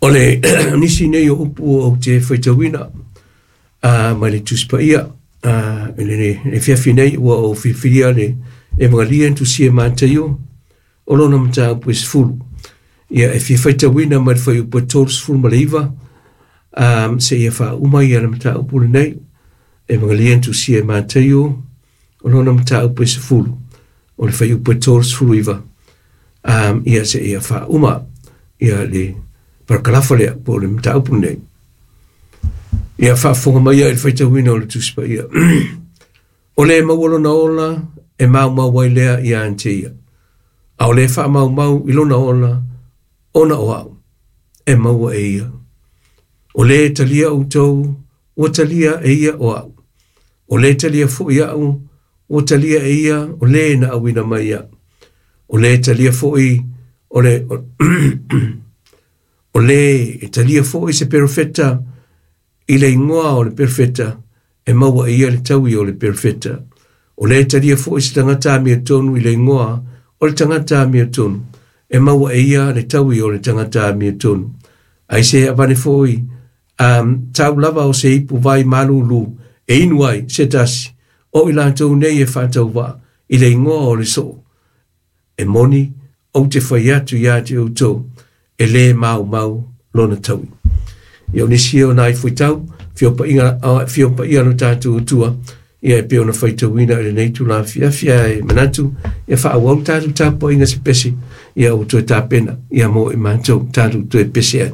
O le nisi nei o upu ou te faitauina mai le Tusi Paia i le afiafi nei ua ou filifilia le Evagelia na tusia e Mataio o lona mataupu e 10. Ia e fia faitauina mai le fuaiupu e 39 seia faauma ia le mataupu lenei. Evagelia na tusia e Mataio o lona mataupu e 10 o le fuaiupu e 39 ia seia faauma ia le parakalafa lea po o le mataupu lenei. Ia faafofoga mai ia i le faitauina o le Tusi Paia. O le maua lona ola e maumau ai lea ia te ia. A o le faamaumau i lona ola, ona o au, e maua e ia. O le talia outou, ua talia e ia o au. O le talia foi au, ua talia e ia o le na auina mai au. O le talia foi o le o le e talia foi se perofeta i le igoa o le perofeta e maua e ia le taui o le perofeta. O le talia foi se tagata amiotonu i le igoa o le tagata amiotonu e maua e ia le taui o le tagata amiotonu. Ai se avane foi tau lava o se ipu vai malulu e inu ai se tasi o i latou nei e faatauvaa i le igoa o le soo. E moni ou te fai atu ia te outou e lē maumau lona taui. Ia o nisi o nai fuitau, fio paia lo tātou Atua, ia e pei ona faitauina i lenei itula afiafi ae manatu, ia faaauau tatou tapuaiga se pese, ia ua toe tapena, ia mo i matou tatou toe pese ai.